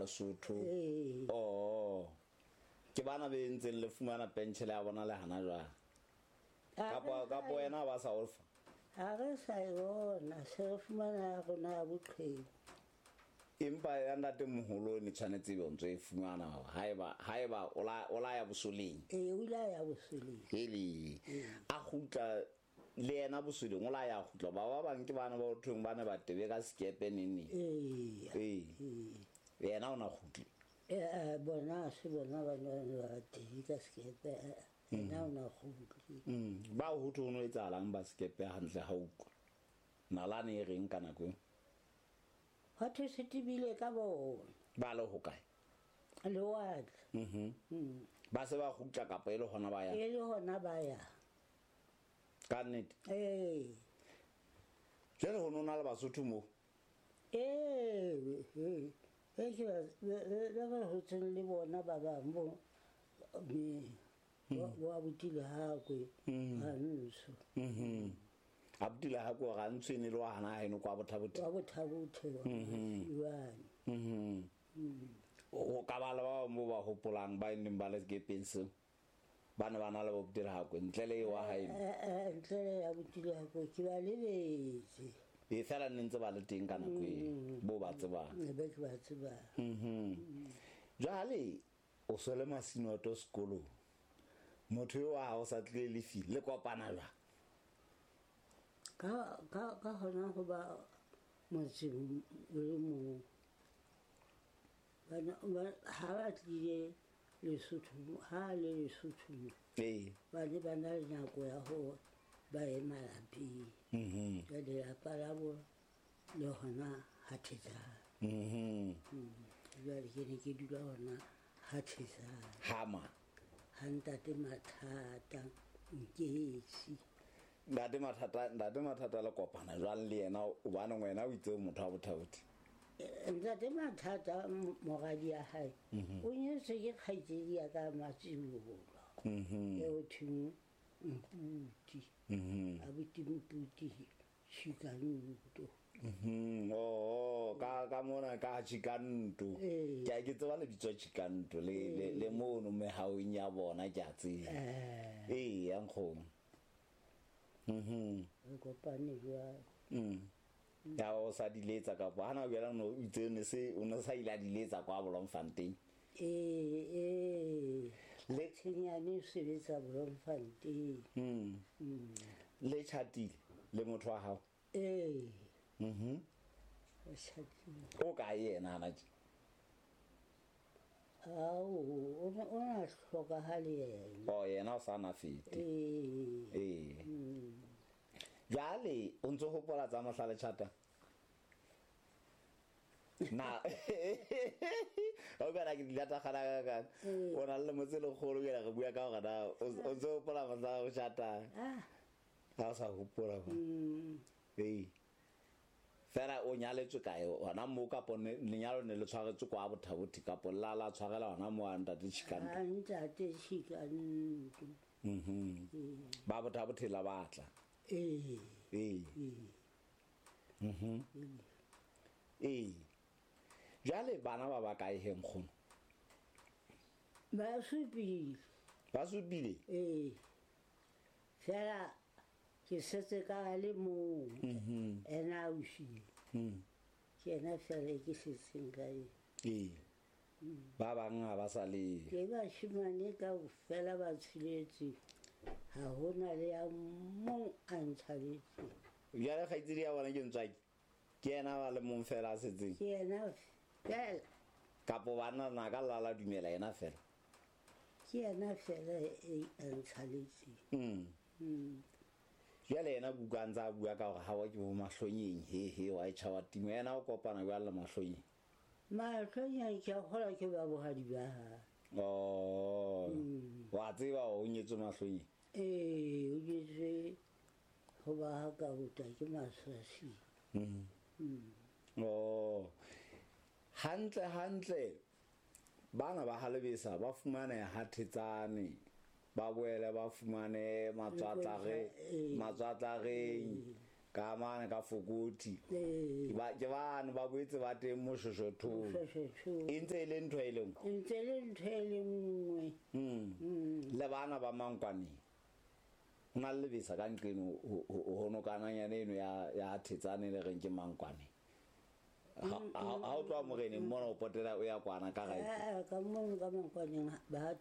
Lesotho. Ee. Oh. Ke bana be ntseng le fumana pension ya bona le hana jwale. Kapa kapa wena ba sa o fa. Ha re sa e bona, se re fumana ya rona ya boqheku. Empa ya ntate moholo ne tshwanetse ebe o ntso e fumana haeba haeba o la o la ya bosoleng. Ee, o ile a ya bosoleng. Hele. A kgutla le yena bosoleng o la ya kgutla ba ba bang ke bana ba ho thweng ba ne ba tebe ka sekepe neng neng. Ee. Ee. Yena o na kgutle. Ee, bona ha se bona ba ne ba tebe ka sekepe. Yena o na kgutle. Ba ho thwe ho no etsahalang ba sekepe hantle ha utlwa. Nalane e reng ka nako eo? Ho thwe se tebile ka bona. Ba le hokae? Lewatle. Ba se ba kgutla kapa e le hona ba yang? E le hona ba yang. Ka nnete? Ee. Jwale ho no na le Basotho moo? Ee, ee. E ke ba ba hotseng le bona ba bang bo me bo abuti Lehakwe Rantsho. Abuti Lehakwe Rantsho e ne le wa hana haeno kwa Bothabothe. Wa Bothabothe wa Siwane. O ka ba le ba bang bo ba hopolang ba neng ba le sekepeng seo. Ba ne ba na le bo abuti Lehakwe ntle le wa haeno. Ntle le abuti Lehakwe ke ba lebetse. E fela ne ntse ba le teng ka nako e bo ba tsebang. Be ke ba tsebang. Jwale o so le Masinoto sekolong. Motho eo wa hao sa tlile lefi le kopana jwang? Ka ka ka hona ho ba motseng o le mong. Bana ha ba tlile Lesotho, ha le Lesotho mo. Ee. Ba ne ba na le nako ya ho ba ye malapeng. Jwale lelapa la bo le hona ha Thetsane. Jwale ke ne ke dula hona ha Thetsane. Hama. Ha ntate Mathata Nketsi. Ntate Mathata, ntate Mathata le kopana jwang le yena hobane wena o itse o motho wa Bothabothe? Ntate Mathata moradi ya hae o nyetswe ke kgaitsedi ya ka Matsibolo. E ho thweng Mputi. Abuti Mputi Chikanto. Oh, ka ka mona ka Chikanto. Ke a ke tseba lebitso Chikanto le le le mono mehaong ya bona ke a tseba. Ee, ya nkgono. Re kopane jwalo. Ya o sa diletsa kapa hana o no itse ne se o ne sa ile a diletsa kwa Bloemfontein. Ee, ee. Le Tshenyane o sebetsa Bloemfontein. Le chatile le motho wa hao? Ee. Re chatile. O kae yena hana tje? Ao, o na hlokahale yena. Oh, yena o sa na fete. Ee. Ee. Jwale o ntso hopola tsa mohla le chata? Na o bana ke dilata gana ka ka. O na le motse le kgolo ke re bua ka hore na o ntso hopola mohla o chata. Ha o sa hopola ba. Ee. Fela o nyaletswe kae hona moo kapa lenyalo ne le tshwaretswe kwa Bothabothe kapa la la tshwarela hona moo a ntate Chikanto? A ntate Chikanto. Ba Bothabothe la batla. Ee. Ee. Ee. Jwale bana ba ba kae he nkgono? Ba supile. Ba supile? Ee. Fela ke setse ka le mong. Ena o shile. Ke ena fela ke setseng ka ena. Ee. Ba bang ha ba sa le. Ke bashimane kaofela ba tsheletse. Ha hona le ya mong a ntshwaretseng. Jwale kgaitsedi ya bona ke ntswaki. Ke yena ba le mong fela a setseng. Ke yena fela. Kapo bana na ka lala dumela yena fela. Ke yena fela e a ntshwaretseng. Jwale yena kuka ntse a bua ka hore ha wa ke bo mahlonyeng he he wa e tjha wa timo yena o kopana jwale le mahlonyeng. Mahlonyeng ke a kgolwa ke ba bohadi ba hae. Oh. Wa tseba o nyetswe mahlonyeng? Ee, o nyetswe ho ba ha ka bota ke maswasi. Oh. Hantle hantle bana ba Halebesa ba fumane ha Thetsane ba boele ba fumane matswatlareng. Ka mane ka Fokothi. Ee. Ke bane ba boetse ba teng Moshoshothong. Moshoshothong. E ntse e le ntho e le nngwe. E ntse e le ntho e le nngwe. Le bana ba Mankwaneng. Ho na le lebesa ka nqeno ho nokananyana eno ya Thetsane le reng ke Mankwaneng. Ha o tloha moreneng mona o potela o ya kwana ka right. Ka mono ka Mankwaneng ba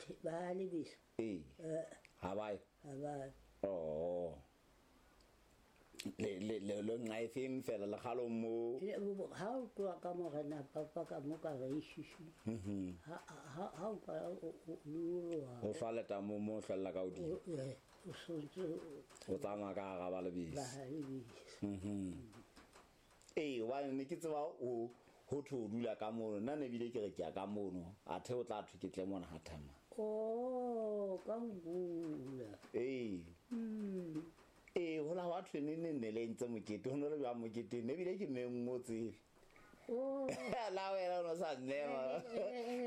lebesa. Ee. Ha ba ye. Ha ba ye. Oh. Le nqa e feng fela le kgalong mo? Ha o tloha ka morena papa ka mo ka reishishi. Ha o ka o nyoloha. O hlwa letamo mo o hlwella ka hodimo. O sontse o tsamaya ka hara ba lebese. Ba lebese. Ee, hobane ne ke tseba o ho thwe o dula ka mono. Nna ne bile ke re ke ya ka mono. Athe o tla thwe ke tle mona ha thama. Oh, ka ho bula. Ee. Ee, ho la hwa thwe ne ne ne le ntse mokete, ho no le jwang mokete, ne bile ke menngwe tsebe. Oh. La wena o no sa nnema.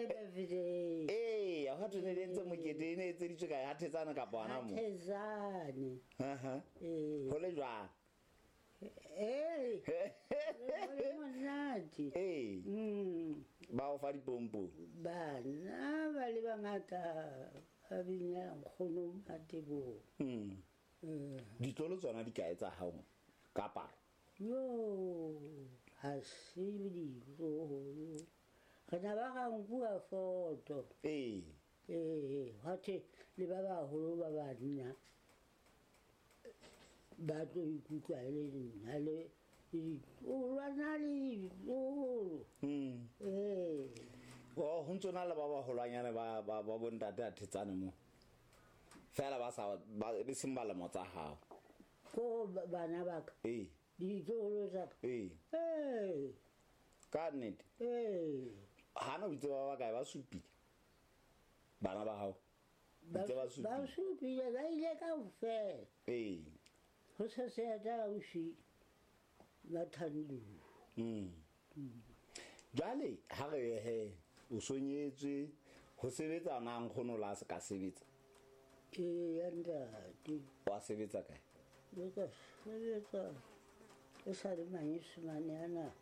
Birthday. Ee, ha thwe ne le ntse mokete, e ne etseditswe kae, ha Thetsane kapa hona moo? Thetsane. Aha. Ee. Ho le jwang? Ee. Ho le monate. Ee. Ba o fa dipompong? Bana ba le bangata ba bina nkgono Mateboho. Ditlolo tsona di kae tsa hao ka palo? Yo, ha se ditlolo. Re na ba ra nkuwa foto. Ee. Ee, hwa thwe le ba baholo ba banna ba tlo ikutlwa e le nna le ditlolwana le ditlolo. Ee. Oh, ho ntso na le ba baholwanyane ba bontate a Thetsane mo. Fela ba sa ba e seng ba lemo tsa hao. Ko bana ba ka. Ee. Ditlolo tsa ka. Ee. Ee. Ka nnete. Ee. Hana o itse ba ba kae ba supile? Bana ba hao. Itse ba supile. Ba supile ba ile kaofela. Ee. Ho se se ya ausi ba Thandu. Jwale ha re he o sonyetswe ho sebetsa na nkgono la se ka sebetsa? Ee, ya ntate. Wa sebetsa kae? Le ka sebetsa e sa le manyesemane ana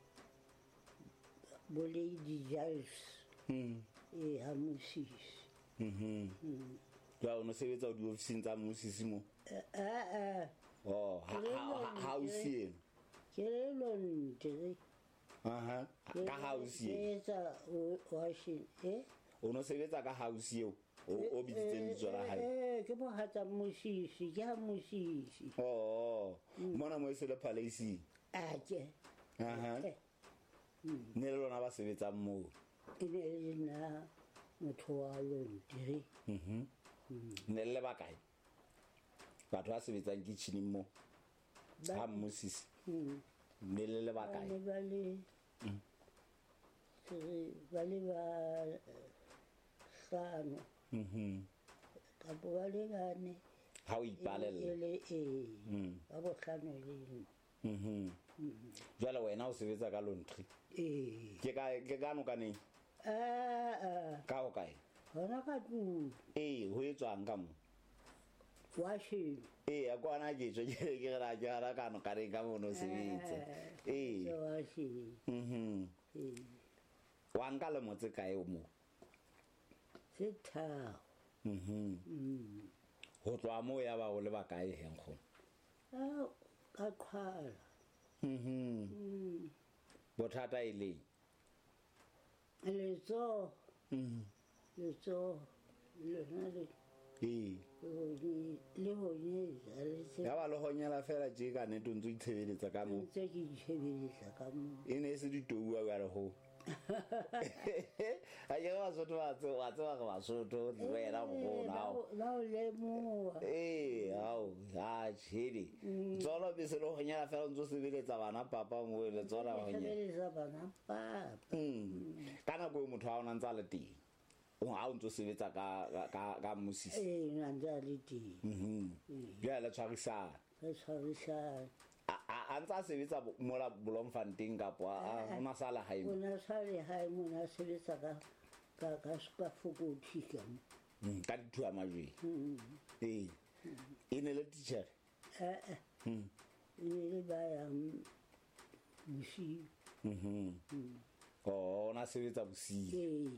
bo Lady Giles. Ee, ha Mosisi. Jwale o no sebetsa o diofising tsa Mosisi mo? Eh. Oh, ha o sieng? Ke le laundry. Aha. Ka ha o sieng? Ke etsa washing, eh? O no sebetsa ka house eo? O bitsitseng lebitso la hae? Ke mohatsa Mosisi, ke ha Mosisi. Oh, mona mo e se le palace. Atjhe. Aha. Ne le lona ba sebetsang moo? E ne le nna motho wa laundry. Ne le ba kae? Batho ba sebetsang kitchening mo? Ha Mosisi. Ne le le ba kae? Ba le ba le ba hlano. Kapo ba le bane. Ha o ipalella. E le ee. Ba bohlano le nna. Jwale wena o sebetsa ka laundry? Ee. Ke ka nokaneng? Ka ho kae? Hona ka tlung. Ee, ho etswang ka mo? Washing. Ee, a kwana ke tswe ke re la ke hara ka nokaneng ka mono sebetsa. Ee. Ke washing. Ee. Wa nka lemo tse kae o mo? Tse tharo. Ho tloha moo ya ba o le ba kae he nkgono? Ka qhwala. Bothata e leng? Letsoho. Letsoho lona le. Ee. Le honyetsa le tse. Ya ba le honyela fela tje ka nnete o ntso itshebeletsa ka moo. Ntse ke itshebeletsa ka moo. E ne e se ditouwa jwale ho. Ha ke re Basotho ba tseba, wa tseba re Basotho, le wena nkgono, hao. Ba o lemoha. Ee, hao, ha tjhele. Tsolo be se le honyela fela o ntso sebeletsa bana papa moo, letsoho la honyela. Sebeletsa bana papa. Ka nako eo motho ha o na ntse a le teng. O ha o ntso sebetsa ka Mosisi. Ee, o na ntse a le teng. Jwale le tshwarisana. Re tshwarisana. A ntse a sebetsa mola Bloemfontein kapa o na sa le hae mo? O na sa le hae mo, o na sebetsa ka Fokothi ka mo. Ka dithuwa majweng. Ee. E ne le titjhere? Eh. E ne le ba yang bosiu. Oh, o na sebetsa bosiu. Ee.